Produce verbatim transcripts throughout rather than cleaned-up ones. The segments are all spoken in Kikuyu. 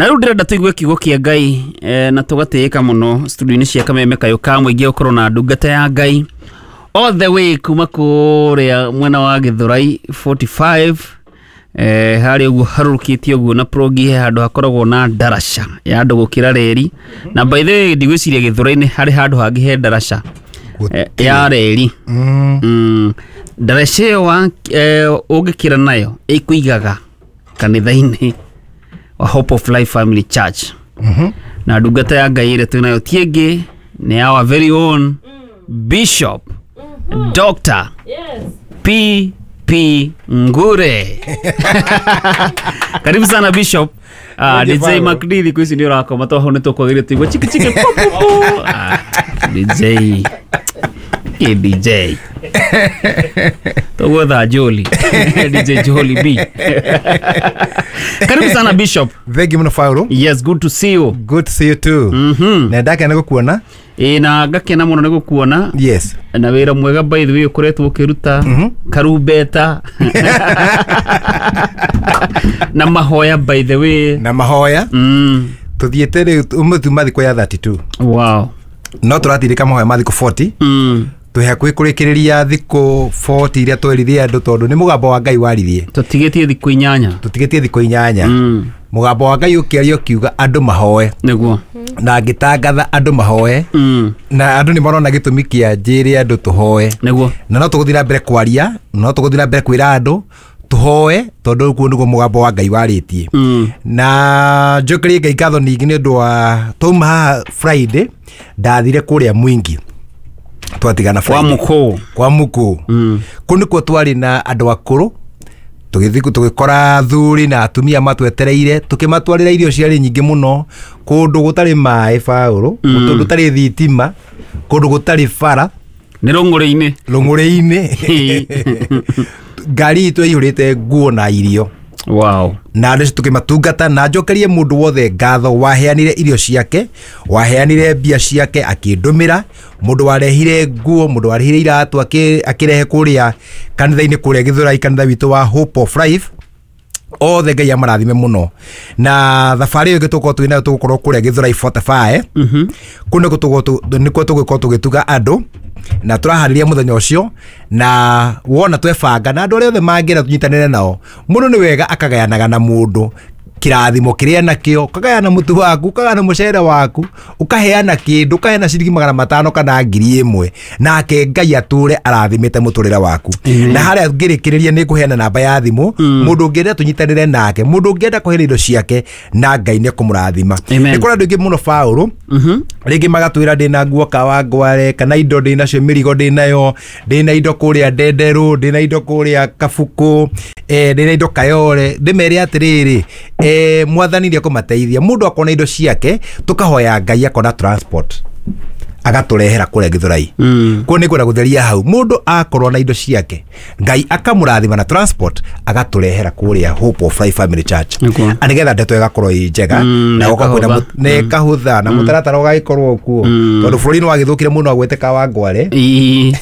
Na rĩu ndĩrenda tũigue kiugo kĩa Ngai eh, na tũgatĩĩka mũno studio-inĩ cia Kameme Kayũ ka mũingĩ gũkorwo na ndungata ya Ngai all the way kuma kũrĩa mwena wa Gĩthũrai forty-five eh, harĩa ũguo harũrũkĩtie ũguo na progi he handũ hakoragwo na ndaraca ya andũ gũkĩra reri. Na by the way ndigwĩciria Gĩthũrai-inĩ harĩ handũ hangĩ he ndaraca eh, ya reri. Mm. Mm. Ndaraca ĩyo wa- eh, ũngĩkĩra nayo ĩkũigaga kanitha-inĩ wa Hope of Life Family Church. Mhm. Na ndungata ya Ngai ĩrĩa twĩ nayo ti ĩngĩ nĩ our very own Bishop Doctor Yes. P P Ngure. Karibu sana Bishop. Ah, Thank you, D J Paolo. McD thikũ ici nĩ ũrakoma to hau nĩ tũkwagĩrĩire tũigua chiki chiki pu pu pu. Ah, D J. Kĩ D J. Tũgwetha Joli. D J Joli B. Karibu sana Bishop. Thank you mũno Paolo. Yes, good to see you. Good to see you too. Mhm. Na ndakena gũkuona. Ĩ na ngakena mũno nĩ gũkuona. Yes. Na wĩra mwega by the way ũkoretwo ũkĩruta Mhm. karumbeta na mahoya by the way. Na mahoya. Mm. Tuthiĩte rĩu ũmũthĩ tuma thikũ ya thirty-two. Wow. No tũratirĩka mahoya ma thikũ forty. Mm. Twĩ hakuhĩ kũrĩkĩrĩria thikũ forty iria twerithie andũ tondũ nĩ mũgambo wa Ngai waririe. Tũtigĩtie thikũ inyanya. Tũtigĩtie thikũ inyanya. Mm. Mũgambo wa Ngai ũkĩaria ũkiuga andũ mahoe. Nĩguo. Na ngĩtangatha andũ mahoe. Mm. Na andũ nĩ marona gĩtũmi kĩa njĩre andũ tũhoe. Nĩguo. Na no tũgũthiĩ na mbere kwaria, no tũgũthiĩ na mbere kwĩra andũ tũhoe tondũ kuo nĩguo mũgambo wa Ngai warĩtie. Mm. Na njokerie Ngai ngatho ningĩ nĩ ũndũ wa twauma haha Friday ndathire kũrĩa Mwingi. Twatigana Kwa Friday. mũkũũ. Kwa mũkũũ. Mm. Kũu nĩkuo twarĩ na andũ akũrũ tũgĩthiĩ tũgĩkora athuri na atumia matwetereire tũkĩmatwarĩra irio ciarĩ nyingĩ mũno kũndũ gũtarĩ maĩ Paũlũ, Mm. kũndũ gũtarĩ thitima, kũndũ gũtarĩ bara. Nĩ rũng'ũrĩ-inĩ. Rũng'ũrĩ-inĩ. Ngari itũ yaihũrĩte nguo na irio. Wow. Na andũ acio tũkĩmatungata na njokerie mũndũ wothe ngatho waheanire irio ciake, waheanire mbia ciake akĩndũmĩra, mũndũ warehire nguo, mũndũ warehire iratũ akĩ-, akĩrehe kũrĩa kanitha-inĩ kũrĩa Gĩthũrai, kanitha witũ wa Hope of Life. Othe Ngai amarathime mũno. Na thabarĩ ĩyo ĩngĩ tũgũkorwo twĩ nayo tũgũkorwo kũrĩa Gĩthũrai forty-five. Mhm. Kũu nĩkuo tũgũkorwo tũ-, nĩkuo tũgũkorwo tũgĩtuga andũ na tũraharĩria mũthenya ũcio na wona twebanga na andũ arĩa othe mangĩenda tũnyitanĩre nao. Mũndũ nĩ wega akagayanaga na mũndũ kĩrathimo kĩrĩa nakĩo, ũkagayana mũtu waku, ũkagayana mũcere waku, ũkaheana kĩndũ, ũkaheana ciringi magana matano kana ngiri ĩmwe, nake Ngai atũre arathimĩte mũtũrĩre waku. Amen. Na harĩa ngĩrĩkĩrĩria nĩ ngũheana namba ya thimũ, Mm. mũndũ ũngĩenda tũnyitanĩre nake, mũndũ ũngĩenda kũheana indo ciake, na Ngai nĩ ekũmũrathima. Amen. Nĩ kũrĩ andũ aingĩ mũno Paũlũ, Mhm. rĩngĩ magatwĩra ndĩna nguo Kawangware, kana indo ndĩnacio, mĩrigo ndĩnayo, ndĩna indo kũrĩa Ndenderũ, ndĩna indo kũrĩa Kabukũ, eh, ndĩna indo Kayore. Ndĩmere atĩrĩrĩ, eh, mwathani nĩ ekũmateithia. Mũndũ akona indo ciake, tũkahoya Ngai akona transport agatũrehera kũrĩa Gĩthũrai. Mm. Kuo nĩ ngwenda gũtheria hau. Mũndũ akorwo na indo ciake, Ngai akamũrathima na transport agatũrehera kũrĩa Hope of Life Family Church. Nĩguo. Na nĩgetha ndeto ĩgakorwo ĩ njega, Mm, na gũkorwo kwĩna ĩkahũtha. mũ-, na ĩkahũtha, na mũtaratara ũgagĩkorwo kuo. Mm. Tondũ bũrũri nĩ wagĩthũkire mũno agwete Kawangware. Ii.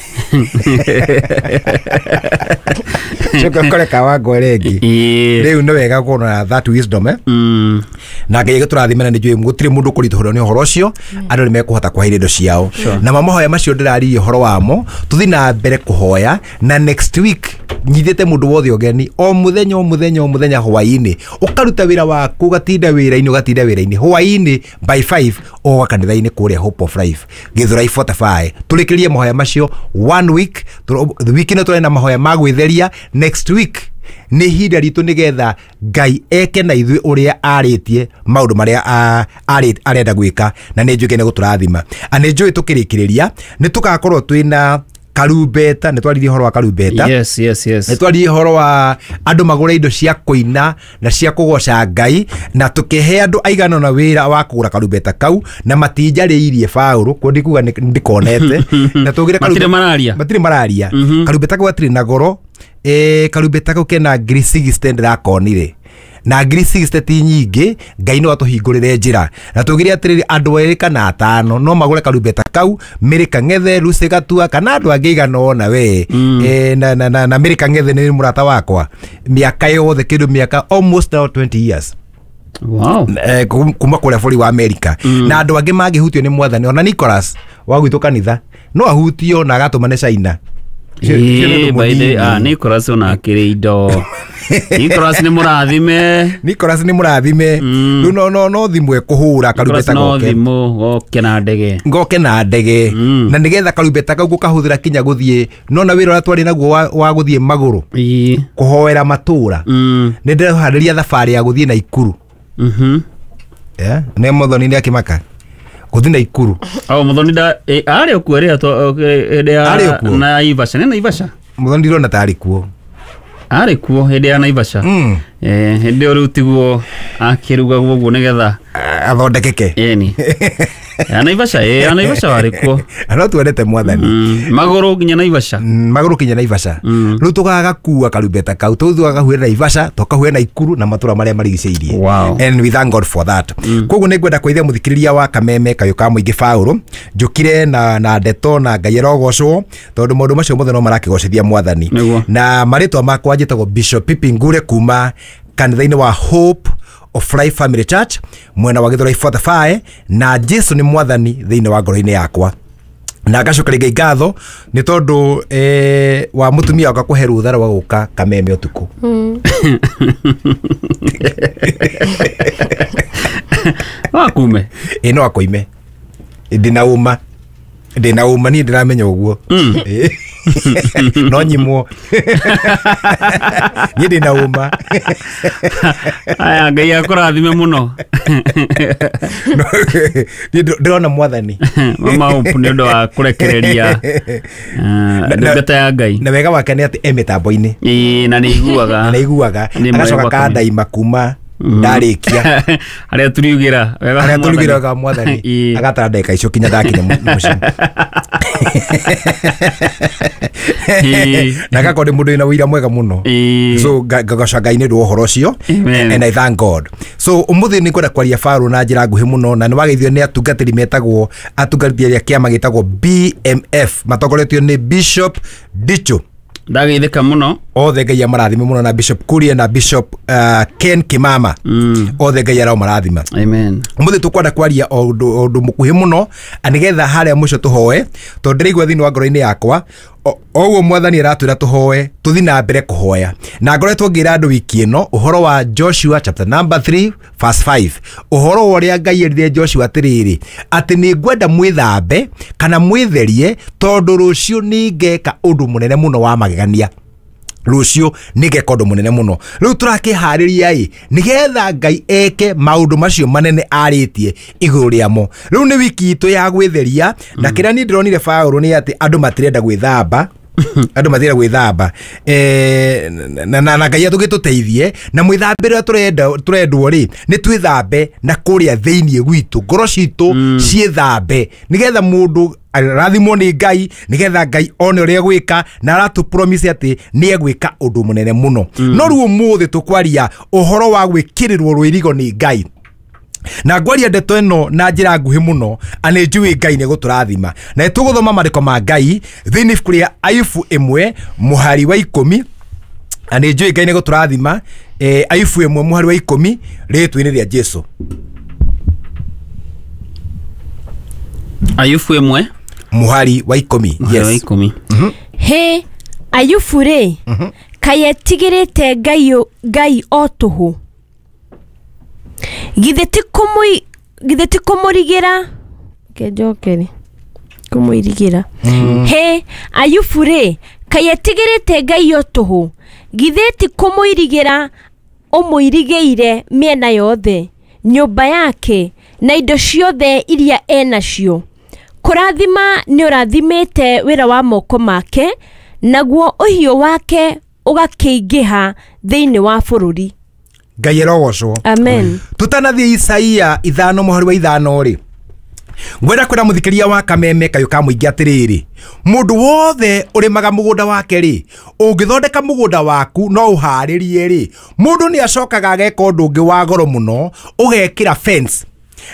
Coka ũkore Kawangware ĩngĩ. Ii. Rĩu nĩ wega gũkorwo na that wisdom, eh? Mm. Na Ngai agĩtũrathime na nĩ njũĩ gũtirĩ mũndũ ũkũritũhĩrwo nĩ ũhoro ũcio, andũ nĩ mekũhota kũheire indo ciao. Na mahoya macio ndĩraririe ũhoro wamo, tũthiĩ na mbere kũhoya, na next week nyitĩte mũndũ wothe ũgeni, o mũthenya, o mũthenya, o mũthenya hwaĩ-inĩ, ũkaruta wĩra waku, ũgatinda wĩra-inĩ, ũgatinda wĩra-inĩ, hwaĩ-inĩ by five ũgoka kanitha-inĩ kũrĩa Hope of Life Gĩthũrai forty-five. Tũrĩkĩrie mahoya macio one week, tũ-, wiki ĩno tũrĩ na mahoya ma gwĩtheria, next week nĩ ihinda ritũ nĩgetha Ngai eke na ithuĩ ũrĩa arĩtie maũndũ marĩa a-, arĩ-, arenda gwĩka, na nĩ njũĩ nĩ gũtũrathima. Na nĩ njũĩ tũkĩrĩkĩrĩria nĩ tũgakorwo twĩna karumbeta, nĩ twaririe ũhoro wa karumbeta. Yes, yes, yes. Nĩ twaririe ũhoro wa andũ magũre indo cia kũina na cia kũgoca Ngai, na tũkĩhe andũ aigana ũna wĩra wa kũgũra karumbeta kau, na matinjarĩirie Paũlũ, kuo ndikuga nĩ-, ndikonete. Na tũgĩre Matirĩ karumbeta- mararia. Matirĩ mararia. Mhm. Karumbeta kau gatirĩ na goro. Eh, karumbeta kau kena ngiri sixty ndĩrakonire. Na ngiri sixty ti nyingĩ, Ngai no atũhingũrĩre njĩra. Na tũgĩre atĩrĩrĩ, andũ erĩ kana atano no magũre karumbeta kau, Mary Kang'ethe, Lucy Gatua, kana andũ angĩ aigana ũna we. Mm. Eh, na, na, na, na Mary Kang'ethe nĩ mũrata wakwa. Mĩaka yothe, kĩndũ mĩaka almost now twenty years. Wow. Eh, kum- kuma kũrĩa bũrũri wa America mm. Na andũ angĩ mangĩhutio nĩ mwathani, ona Nicholas wa gwitũ kanitha no ahutio na agatũmane China. Ũcio- ũcio nĩ Ĩĩ, ũndũ by the mũnini. ah, Nicholas ona akĩrĩ indo. Nicholas nĩ mũrathime. Nicholas nĩ mũrathime. Mm. Rĩu no no no thimũ ekũhũra Nicholas karumbeta no goke thimũ goke na ndege. Ngoke na ndege. Mm. Na nĩgetha karumbeta kau gũkahũthĩra kinya gũthiĩ nona wĩra ũrĩa twarĩ naguo wa, wa gũthiĩ magũrũ Ĩĩ. kũhoera matũra. Mm. Nĩ ndĩreharĩria thabarĩ ya gũthiĩ Naikuru. Mhm. Yeah? Nĩ Muthoni nĩ akĩmaka gũthiĩ Naikuru. Oh, Muthoni nda eh, arĩ okuo rĩrĩa twa- eh, hĩndĩ ya Arĩ okuo? Naivasha. Nĩ Naivasha? Muthoni ndirona tarĩ kuo. Arĩ kuo hĩndĩ ya Naivasha. Mm. Eh, hĩndĩ ĩyo rĩu tiguo akĩrugagwo ũguo nĩgetha Athondekeke. ĩni. Ya Naivasha, ĩ ya Naivasha warĩ kuo. No twendete mwathani. Mm. Magũrũ nginya Naivasha. Mm, magũrũ kinya Naivasha. Mm. Rĩu tũgagakua karumbeta kau tũthiĩ tũgakahuĩra Naivasha, tũkahuĩra Naikuru na matũra marĩa marigicĩirie. Wow. And we thank God for that. mm. Koguo nĩ ngwenda kũithia mũthikĩrĩria wa Kameme Kayũ ka Mũingĩ Baũrũ njũkire na, na ndeto na Ngai arogocwo tondũ maũndũ macio mothe no marakĩgocithia mwathani. Nĩguo. Na marĩtwa makwa njĩtagwo Bishop Pipi Ngure kuma kanitha-inĩ wa Hope of Life Family Church mwena wa Githurai forty-five, na Jesu nĩ mwathani thĩinĩ wa ngoro-inĩ yakwa, na ngacokeria Ngai ngatho nĩ tondũ eh, wa mũtumia wakwa kũhe rũtha rwa gũka Kameme ũtukũ. Wakume. Ĩ no akoime, ndĩna ũma ndĩna ũma niĩ ndĩramenya ũguo. Ĩ. No nyimwo, niĩ ndĩna ũma. Aya, Ngai akũrathime mũno. No, niĩ ndĩ- ndĩrona mwathani. Mama Hope nĩ ũndũ wa kũrekereria eh, na- ndungata ya Ngai. Na wega wake nĩ atĩ e mĩtambo-inĩ. Ĩĩ, na nĩ iguaga. Na iguaga. Nĩ agacoka mwega. kandaima kuma ndarĩkia. Harĩa tũriugĩra wega wa Harĩa Mwathani. tũrugĩra wega wa mwathani. Ĩĩ. Agatara ndagĩka icio kinya ndakinya mũ- mũciĩ. Ĩĩ. Na agakorwo nĩ mũndũ wĩna ũira mwega mũno. Ĩĩ. So nga- ngagoca Ngai nĩ ũndũ wa ũhoro ũcio. Amen. And I thank God. So ũmũthĩ nĩ ngwenda kwaria Baũrũ na njĩra nguhĩ mũno, na nĩ wageithio nĩ atungatĩri metagwo atungatĩri a kĩama gĩtagwo B M F matongoretio nĩ Bishop Dicho. Ndageithĩka mũno. Othe Ngai amarathime mũno, na Bishop Kuria na Bishop uh, Ken Kimama. Mm. Othe Ngai aromarathima. Amen. Umuthi tukwenda kwaria o ũndũ o ũndũ mũkuhĩ mũno nĩgetha harĩa mũico tũhoe, tondũ ndĩraigua thĩinĩ wa ngoro-inĩ yakwa o ũguo mwathani aratwĩra tũhoe, tũthi na mbere kũhoya. Na ngoretwo ngĩra andũ wiki ĩno ũhoro wa Joshua chapter number three verse five, ũhoro wa ũrĩa Ngai erire Joshua atĩrĩrĩ, atĩ nĩ ngwenda mwĩthambe kana mwĩtherie tondũ rũciũ nĩ ngeka ũndũ mũnene mũno wa magegania, rũciũ nĩngeka ũndũ mũnene mũno. Rĩu tũrakĩharĩria ĩ nĩgetha Ngai eke maũndũ macio manene arĩtie igũrũ rĩamo. Rĩu nĩ wiki itũ ya gwĩtheria, na kĩrĩa niĩ ndĩronire Baũrũ nĩ atĩ andũ matirenda gwĩthamba, andũ matirenda gwĩthamba. Eh, na, na, na Ngai atũgĩtũteithie na mwĩthambĩre ũrĩa tũrenda tũrendwo rĩ nĩ twĩthambe na kũrĩa thĩinĩ gwitũ, ngoro citũ ciĩthambe nĩgetha mũndũ arathimwo nĩ Ngai, nĩgetha Ngai one ũrĩa egwĩka, na aratũ promise atĩ nĩ egwĩka ũndũ mũnene mũno. No rĩu ũmũthĩ tũkwaria ũhoro wa gwĩkĩrĩrwo rũirigo nĩ Ngai, na ngwaria ndeto ĩno na njĩra nguhĩ mũno, na nĩ njũĩ Ngai nĩ gũtũrathima. Na nĩ tũgũthoma maandĩko ma Ngai thĩinĩ ibuku rĩa Ayubu ĩmwe mũhari wa ikũmi, na nĩ njũĩ Ngai nĩ gũtũrathima. eh, Ayubu ĩmwe mũhari wa ikũmi rĩtwa-inĩ rĩa Jesu. Ayubu ĩmwe Mũhari wa ikũmi. mũhari wa Yes. ikũmi. Hĩ, Ayubu rĩ, kaĩ etigĩrĩte Ngai ũ- Ngai o tũhũ? Githĩ ti kũmũi- githĩ ti kũmũrigĩra, reke njokere kũmũirigĩra. Hĩ, Ayubu rĩ, kaĩ etigĩrĩte Ngai o tũhũ? Githĩ ti kũmũirigĩra ũmũirigĩire mĩena yothe, nyũmba yake na indo ciothe iria enacio? Kũrathima nĩ ũrathimĩte wĩra wa moko make, naguo ũhiũ wake ũgakĩingĩha thĩinĩ wa bũrũri. Ngai arogocwo. Amen. Tutanathiĩ Isaia ithano mũhari wa ithano rĩ, ngwenda kwĩra mũthikĩria wa Kameme Kayũ ka Mũingĩ atĩrĩrĩ, mũndũ wothe ũrĩmaga mũgũnda wake rĩ, ũngĩthondeka mũgũnda waku no ũharĩrie rĩ, mũndũ nĩ acokaga ageka ũndũ ũngĩ wa goro mũno, ũgekĩra fence.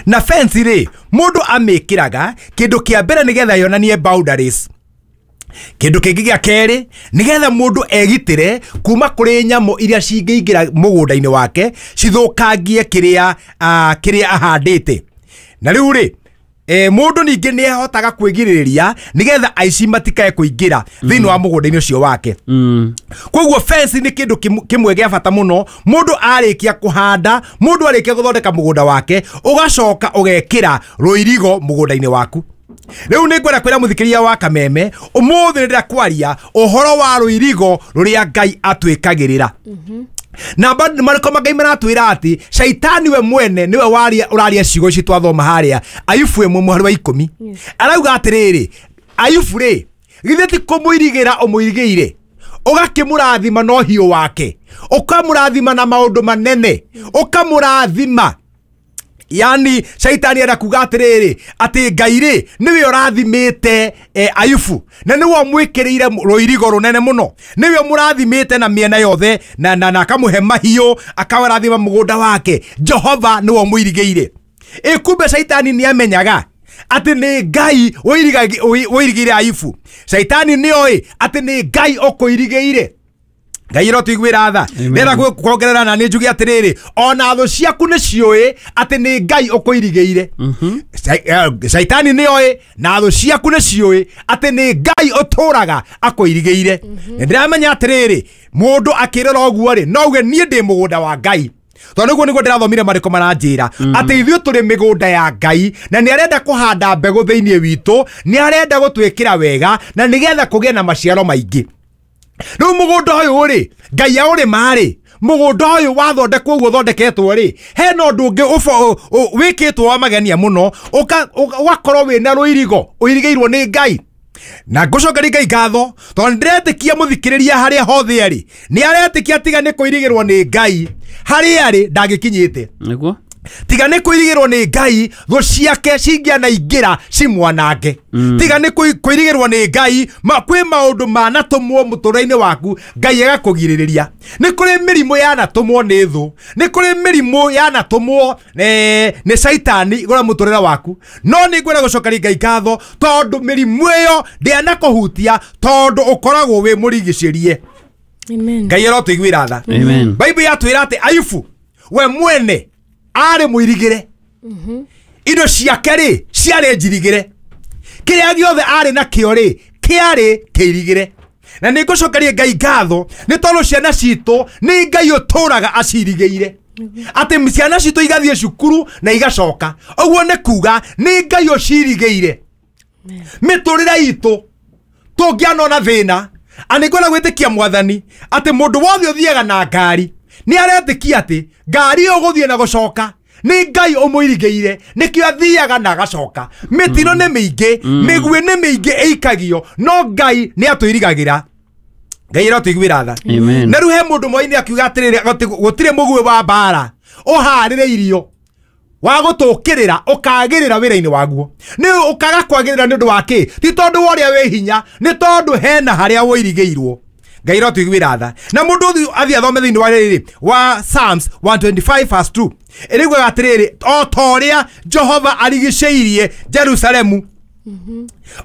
Na fence rĩ, mũndũ amĩkĩraga kĩndũ kĩa mbere nĩgetha yonanie boundaries. Kindu kingi gia keri nigetha mundu egitire kuma kuri nyamu iria cingĩingĩra mũgũnda-inĩ wake cithũkangie kiria uh, kiria ahandĩte. Na rĩu rĩ e, mundu ningĩ nĩ ahotaga kwĩgirĩrĩria nigetha aici matikae kũingĩra thĩinĩ wa mũgũnda-inĩ ũcio wake. Mm. Koguo fence nĩ kĩndũ kĩmwe gĩa bata mũno. Mũndũ arĩkia kũhanda, mũndũ arĩkia gũthondeka mũgũnda wake, ũgacoka ũgekĩra rũirigo mũgũnda-inĩ waku. Rĩu nĩ ngwenda kwĩra mũthikĩria wa Kameme ũmũthĩ nĩ ndĩrakwaria ũhoro wa rũirigo rũrĩa Ngai atwĩkagĩrĩra. Na marĩko ma Ngai maratwĩra atĩ caitani we mwene nĩwe waria ũraria ciugo ici twathoma harĩa Ayubu ĩmwe mũhari wa ikũmi. Arauga atĩrĩrĩ, Ayubu rĩ, githĩ ti kũmũirigĩra ũmũirigĩire, ũgakĩmũrathima na ũhiũ wake, ũkamũrathima na maũndũ manene, ũkamũrathima. Yani caitani enda kuga atĩrĩrĩ atĩ Ngai rĩ nĩwe ũrathimĩte eh, Ayubu, na nĩwe ũmwĩkĩrĩire rũirigo rũnene mũno, nĩwe ũmũrathimĩte na mĩena yothe, na na, na akamũhe mahiũ, akawarathima mũgũnda wake. Jehova nĩwe ũmũirigĩire. Ĩ kumbe caitani nĩamenyaga atĩ nĩ Ngai ũirigĩire Ayubu. Caitani nĩoĩ atĩ nĩ Ngai ũkũirigĩire. Ngai ĩrotũiguĩra tha. Ndĩrenda kuongerera na nĩ njuge atĩrĩrĩ, ona thũ ciaku nĩ ciũĩ atĩ nĩ Ngai ũkũirigĩire. Caitani nĩoĩ na thũ ciaku nĩ ciũĩ atĩ nĩ Ngai ũtũraga akũirigĩire. Nĩ ndĩramenya atĩrĩrĩ, mũndũ akĩrora ũguo rĩ, no uge niĩ ndĩ mũgũnda wa Ngai. Tondũ nĩguo nĩguo ndĩrathomire marĩko maranjĩra atĩ ithuĩ tũrĩ mĩgũnda ya Ngai, na nĩ arenda kũhanda mbegũ thĩinĩ witũ, nĩ arenda gũtwĩkĩra wega, na nĩgetha kũgĩe na maciaro maingĩ. Rĩu mũgũnda ũyũ rĩ, Ngai aũrĩma rĩ, mũgũnda ũyũ wathondekwo ũguo ũthondeketwo rĩ, hena ũndũ ũngĩ wĩkĩtwo wa magenia mũno, ũgakorwo wĩna rũirigo ũirigĩirwo nĩ Ngai. Na ngũcokeria Ngai ngatho tondũ nĩndĩretĩkia mũthikĩrĩria harĩa hothe arĩ nĩ aretĩkia tiga nĩ kũirigĩrwo nĩ Ngai harĩa arĩ ndangĩkinyĩte. Nĩguo tiga nĩ kũirigĩrwo nĩ Ngai thũ ciake cingĩanaingĩra cimwanange. Mm. Tiga nĩ kũirigĩrwo nĩ Ngai ma kwĩ maũndũ manatũmwo mũtũrĩre-inĩ waku Ngai agakũgirĩrĩria. Nĩ kũrĩ mĩrimũ yanatũmwo nĩ thũ, nĩ kũrĩ mĩrimũ yanatũmwo nĩ caitani igũrũ mũtũrĩre waku, no nĩ ngwenda gũcokeria Ngai ngatho tondũ mĩrimũ ĩyo ndĩanakũhutia tondũ ũkoragwo wĩ mũrigicĩrie. Ngai arotũiguĩra tha. Bible yatwĩra atĩ Ayubu we mwene arĩ mũirigĩre, indo ciake rĩ ciarĩ njirigĩre, kĩrĩa gĩothe arĩ nakĩo rĩ kĩarĩ kĩirigĩre. Na nĩ ngũcokeria Ngai ngatho nĩ tondũ ciana citũ nĩ Ngai ũtũraga acirigĩire, atĩ ciana citũ igathiĩ cukuru na igacoka. Ũguo nĩ kuga nĩ Ngai ũcirigĩire. Mĩtũrĩre itũ tũngĩanona thĩna, a nĩ ngwenda gwĩtĩkia Mwathani atĩ mũndũ wothe ũthiaga na ngari nĩ aretĩkia atĩ ngari ĩyo gũthiĩ na gũcoka nĩ Ngai ũmũirigĩire, nĩkĩo athiaga na agacoka. Mĩtino nĩ mĩingĩ, mĩguĩ nĩ mĩingĩ ĩikagio, no Ngai nĩ atũirigagĩra. Ngai ĩrotũiguĩra tha. Na rĩu he mũndũ mwaini akiuga atĩrĩrĩ, gũtirĩ mũguĩ wa mbara ũharĩrĩirio wa gũtũkĩrĩra ũkagĩrĩra wĩra-inĩ waguo. Nĩ ũkaga kwagĩrĩra nĩ ũndũ wa kĩ? Ti tondũ wa ũrĩa wĩ hinya, nĩ tondũ hena harĩa wũirigĩirwo. Ngai ĩrotũiguĩra tha. Na mũndũ athiĩ athome thĩinĩ wa rĩrĩ wa Psalms one twenty-five verse two, ĩrĩguaga atĩrĩrĩ, o ta ũrĩa Jehova arigicĩirie Jerusalemu,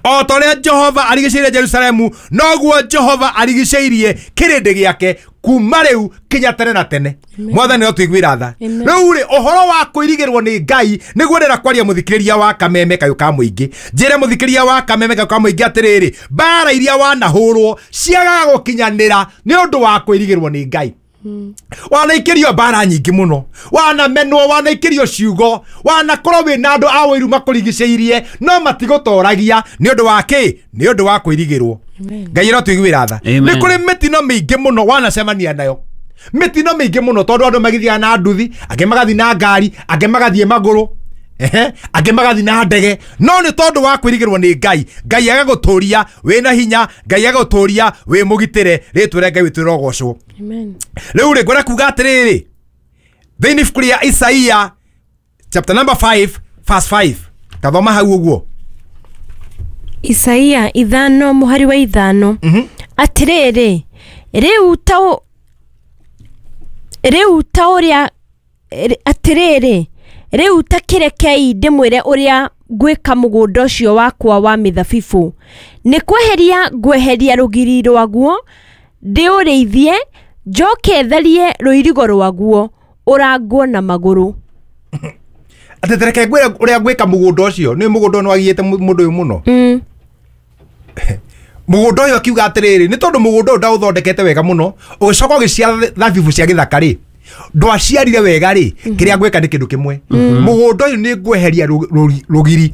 o ta ũrĩa Jehova arigicĩirie Jerusalemu, noguo Jehova arigicĩirie kĩrĩndĩ gĩake kuma rĩu kinya tene na tene. Mwathani ĩrotũiguĩra tha. Rĩu rĩ, ũhoro wa kũirigĩrwo nĩ Ngai nĩguo ndĩrenda kwaria mũthikĩrĩria wa Kameme kayũ ka mũingĩ. Njĩre mũthikĩrĩria wa Kameme kayũ ka mũingĩ atĩrĩrĩ, mbara iria wanahũrwo ciagaga gũkinyanĩra nĩ ũndũ wa kũirigĩrwo nĩ Ngai. Wanaikĩrio mbara nyingĩ mũno, wanamenwo, wanaikĩrio ciugo, wanakorwo wĩna andũ a ũiru makũrigicĩirie, no matigũtoragia nĩ ũndũ wa kĩ? Nĩ ũndũ wa kũirigĩrwo. Ngai ĩrotũiguĩra tha. Nĩ kũrĩ mĩtino mĩingĩ mũno wanacemania nayo, mĩtino mĩingĩ mũno, tondũ andũ magĩthiaga na nduthi, angĩ magathiĩ na ngari, angĩ magathiĩ magũrũ, ehe, angĩ magathiĩ na ndege, no nĩ tondũ wa kwĩrigĩrwo nĩ Ngai, Ngai agagũtũria wĩna hinya, Ngai agagũtũria wĩ mũgitĩre. Rĩtwa rĩa Ngai witũ rĩrogocwo. Rĩu rĩ, ngwenda kuga atĩrĩrĩ, thĩinĩ ibuku rĩa Isaia chapter number five verse five, tathoma hau ũguo. Isaia ithano mũhari wa ithano. Atĩrĩrĩ, rĩu ta rĩu ta ũrĩa atĩrĩrĩ, rĩu ta kĩrekei ndĩmwĩre ũrĩa Ngwĩka mũgũnda ũcio wakwa wa mĩthabibũ nĩ kweheria ngweheria rũgiri rwaguo ndĩũrĩithie njoke tharie rũirigo rwaguo ũrangwo na magũrũ. Atĩ tereke ngwĩre ũrĩa ngwĩka mũgũnda ũcio nĩ mũgũnda ũyũ nĩwagiyĩte mũndũ ũyũ mũno. Mm. Mũgũnda ũyũ akiuga atĩrĩrĩ nĩ tondũ mũgũnda ũyũ ndaũthondekete wega mũno ũgĩcoka ũgĩciara thabibũ cia gĩthaka rĩ ndwaciarire wega rĩ kĩrĩa ngwĩka nĩ kĩndũ kĩmwe mũgũnda ũyũ nĩ ngweheria rũgiri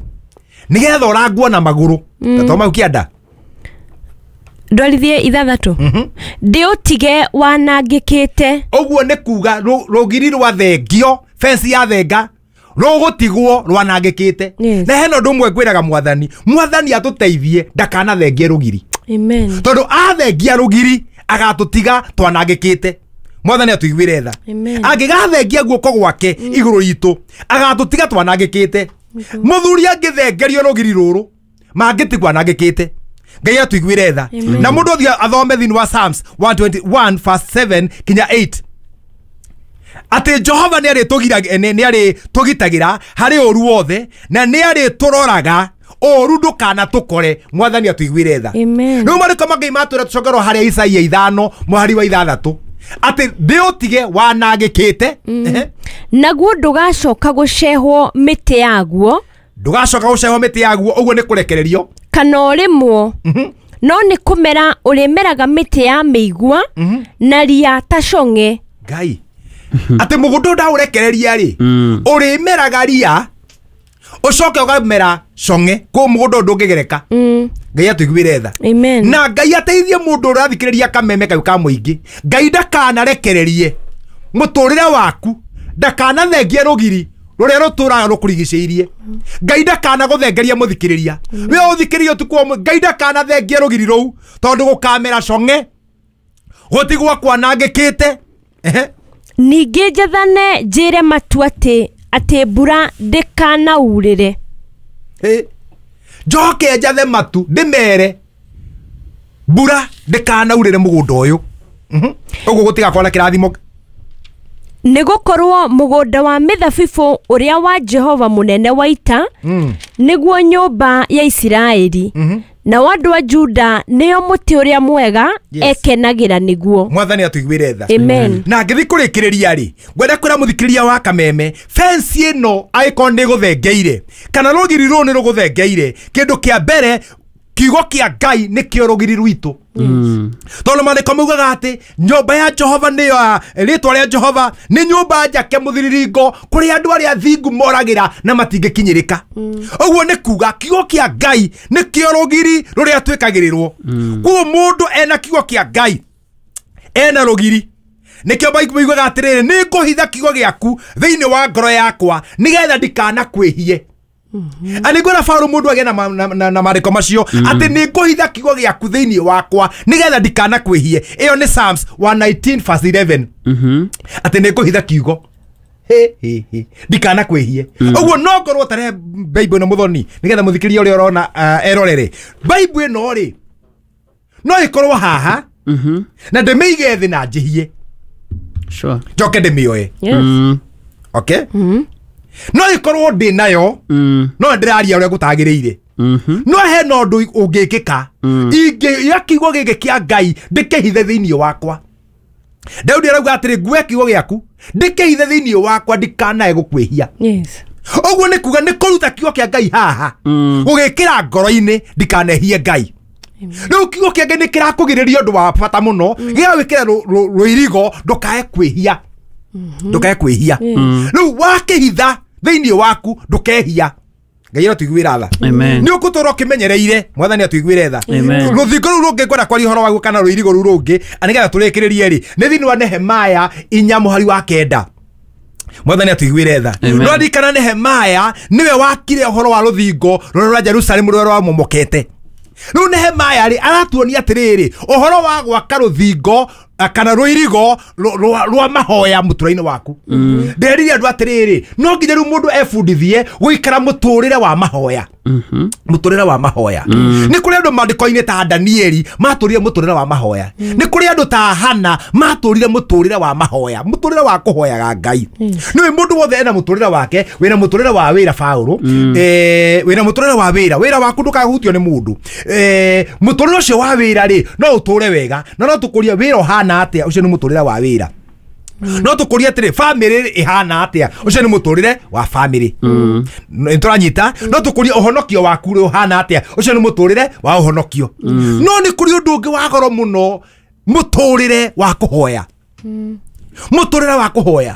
nĩgetha ũrangwo na magũrũ ta mau kĩanda ndwarithie ithathatũ ndĩũtige wanangĩkĩte. Ũguo nĩ kuga rũgiri rwa thengio fence ya thenga rũgũtigwo rwanangĩkĩte. Yes. Na hena ũndũ ũmwe ngwĩraga mwathani mwathani atũteithie ndakanathengie rũgiri. Amen. Tondũ athengia rũgiri agatũtiga twanangĩkĩte. Mwathani atũiguĩre tha. Amen. Angĩgathengia guoko gwake igũrũ ritũ agatũtiga twanangĩkĩte. Mũthuri angĩthengerio rũgiri rũrũ mangĩtigwo anangĩkĩte. Ngai atũiguĩre tha. Na mũndũ ũthiĩ athome thĩinĩ wa Psalms one twenty-one verse seven kinya eight atĩ Jehova nĩ arĩtũgitagĩra harĩ ũru wothe na nĩ arĩtũroraga ũru ndũkanatũkore. Mwathani atũiguĩre tha. Amen. Rĩu marĩko mangai matwĩra tũcokerwo harĩa Isaia ithano mũhari wa ithathatũ atĩ ndĩũtige wanangĩkĩte. Naguo ndũgacoka gũcehwo mĩtĩ yaguo ndũgacoka gũcehwo mĩtĩ yaguo ũguo nĩ kũrekererio kana ũrĩmwo no nĩ kũmera ũrĩmeraga mĩtĩ ya mĩigua na ria ta cong'e. Ngai atĩ mũgũnda ndaũrekereria rĩ ũrĩmeraga ria ũcoke ũkamera cong'e kũu mũgũnda ndũngĩgereka. Ngai atũiguĩre tha. Amen. Na Ngai ateithie mũndũ ũrathikĩrĩria kameme kau ka mũingĩ. Ngai ndakanarekererie mũtũrĩre waku ndakanathengie rũgiri rũrĩa rũtũraga rũkũrigicĩirie. Ngai ndakanagũthengeria mũthikĩrĩria we ũthikĩrĩrie ũtukũ ũmwe. Ngai ndakanathengie rũgiri rũu tondũ gũkamera cong'e gũtigwo kwanangĩkĩte. Ningĩ njathane njĩre matu atĩ atĩ mbura ndĩkanaurĩre. Njoke njathe matu ndĩmere mbura ndĩkanaurĩre mũgũnda ũyũ ũguo gũtigakorwo na kĩrathimo. Nĩ gũkorwo mũgũnda wa mĩthabibũ ũrĩa wa Jehova mũnene wa ita nĩguo nyũmba ya Isiraeli na andũ a Juda nĩo mũtĩ ũrĩa mwega ekenagĩra nĩguo. Mwathani atũiguĩre tha. Amen. Na ngĩthiĩ kũrĩkĩrĩria rĩ ngwenda kwĩra mũthikĩrĩria wa kameme fence ĩno angĩkorwo nĩ ĩgũthengeire kana rũgiri rũrũ nĩ rũgũthengeire kĩndũ kĩa mbere kiugo kĩa Ngai nĩkĩo rũgiri rwitũ. Tondũ maandĩko maugaga atĩ nyũmba ya Jehova nĩyo rĩtwa rĩa Jehova nĩ nyũmba njake mũthiriringo kũrĩa andũ arĩa athingu moragĩra na matingĩkinyĩrĩka. Ũguo nĩ kuga kiugo kĩa Ngai nĩkĩo rũgiri rũrĩa twĩkagĩrĩrwo. Koguo mũndũ ena kiugo kĩa Ngai ena rũgiri nĩkĩo maugaga atĩrĩrĩ nĩ ngũhitha kiugo gĩaku thĩinĩ wa ngoro yakwa nĩgetha ndikanakwĩhie. Ani ngwĩra Paũlũ mũndũ agĩe na maandĩko macio atĩ nĩ ngũhitha kiugo gĩaku thĩinĩ wakwa nĩgetha ndikanakwĩhie. Ĩyo nĩ Psalms one nineteen verse eleven atĩ nĩ ngũhitha kiugo ndikanakwĩhie. Ũguo no ngorwo tarehe Bible ĩno mũthoni nĩgetha mũthikĩria ũrĩa ũrona erorere Bible ĩno rĩ no ĩkorwo haha na ndĩmĩige thĩ na njĩhie njoke ndĩmĩoe. Okay? No ikorwo ndĩ nayo no ndĩraria ũrĩa gũtagĩrĩire no hena ũndũ ũngĩkĩka ingĩoya kiugo gĩkĩ kĩa Ngai ndĩkĩhithe thĩinĩ wakwa. Daudi arauga atĩrĩ nguoya kiugo gĩaku ndĩkĩhithe thĩinĩ wakwa ndikanae gũkwĩhia. Ũguo nĩ kuga nĩ kũruta kiugo kĩa Ngai haha gũgĩkĩra ngoro-inĩ ndikanehie Ngai. Rĩu kiugo kĩa Ngai nĩ kĩrakũgirĩrĩria ũndũ wa bata mũno gĩgagwĩkĩra rũirigo ndũkae kwĩhia ndũkae kwĩhia. Rĩu wakĩhitha thĩinĩ waku ndũkehia. Ngai atũiguĩra tha. Nĩ ũgũtũra ũkĩmenyereire mwathani atũiguĩre tha. Rũthingo rũu rũngĩ ngwenda kwaria ũhoro waguo kana rũirigo rũu rũngĩ nĩgetha tũrĩkĩrĩrie rĩ nĩ thĩinĩ wa Nehemaya inya mũhari wa kenda. Mwathani atũiguĩre tha. Rwaririkana Nehemaya nĩwe wakire ũhoro wa rũthingo rũrĩa rwa Jerusalemu rũrĩa rwamomokete. Rĩu Nehemaya rĩ aratuonia atĩrĩrĩ ũhoro wa gwaka rũthingo kana rũirigo rwa mahoya mũtũra-inĩ waku. Nderire andũ atĩrĩrĩ no nginya rĩu mũndũ ebundithie gũikara mũtũrĩre wa mahoya. Mũtũrĩre wa mahoya. Nĩ kũrĩ andũ maandĩko-inĩ ta Danieli matũrire mũtũrĩre wa mahoya. Nĩ kũrĩ andũ ta Hana matũrire mũtũrĩre wa mahoya, mũtũrĩre wa kũhoyaga Ngai. Nĩũĩ mũndũ wothe ena mũtũrĩre wake. Wĩna mũtũrĩre wa wĩra, Paũlũ, eh, wĩna mũtũrĩre wa wĩra. Wĩra waku ndũkahutio nĩ mũndũ. Eh, mũtũrĩre ũcio wa wĩra rĩ, no ũtũre wega, na no tũkũrie wĩra ũhana atĩa, ũcio nĩ mũtũrĩre wa wĩra. No tũkũrie atĩrĩ, bamĩrĩ ĩhana atĩa, ũcio nĩ mũtũrĩre wa bamĩrĩ. Nĩ tũranyita? No tũkũrie ũhonokio waku rĩ, ũhana atĩa, ũcio nĩ mũtũrĩre wa ũhonokio. No nĩ kũrĩ ũndũ ũngĩ wa goro mũno, mũtũrĩre wa kũhoya, mũtũrĩre wa kũhoya.